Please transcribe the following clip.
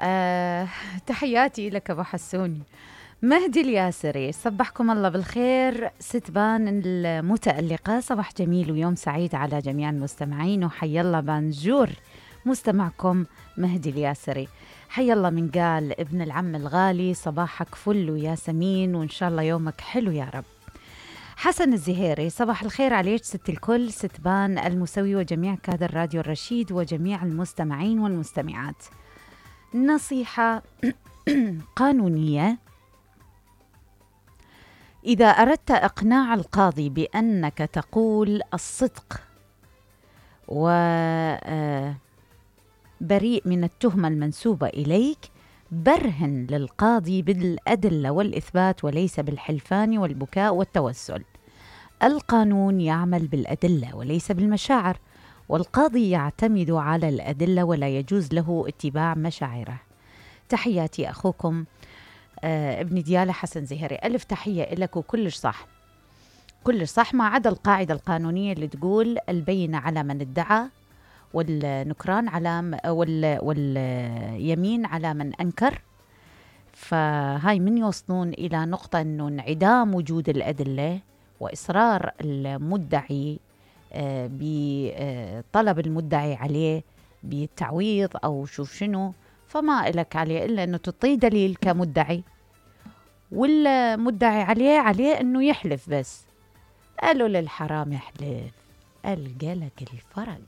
آه، تحياتي لك أبو حسوني. مهدي الياسري، صبحكم الله بالخير ستبان المتألقة، صباح جميل ويوم سعيد على جميع المستمعين، وحي الله بانجور مستمعكم مهدي الياسري. حي الله من قال ابن العم الغالي، صباحك فل وياسمين وإن شاء الله يومك حلو يا رب. حسن الزهيري، صباح الخير عليك ست الكل، ستبان المسوي وجميع كادر راديو الرشيد وجميع المستمعين والمستمعات. نصيحة قانونية: إذا أردت إقناع القاضي بأنك تقول الصدق وبريء من التهمة المنسوبة إليك، برهن للقاضي بالأدلة والإثبات وليس بالحلفان والبكاء والتوسل. القانون يعمل بالأدلة وليس بالمشاعر، والقاضي يعتمد على الأدلة ولا يجوز له اتباع مشاعره. تحياتي أخوكم ابن ديالة حسن زهيري. ألف تحية لك وكلش صح، كلش صح، ما عدا القاعدة القانونية اللي تقول البينة على من ادعى والنكران على واليمين على من أنكر. فهاي من يوصلون إلى نقطة أنه انعدام وجود الأدلة وإصرار المدعي بطلب المدعي عليه بالتعويض أو شوف شنو، فما إلك عليه إلا أنه تعطيه دليل كمدعي، والمدعي عليه أنه يحلف بس. قالوا للحرام يحلف ألقى لك الفرق.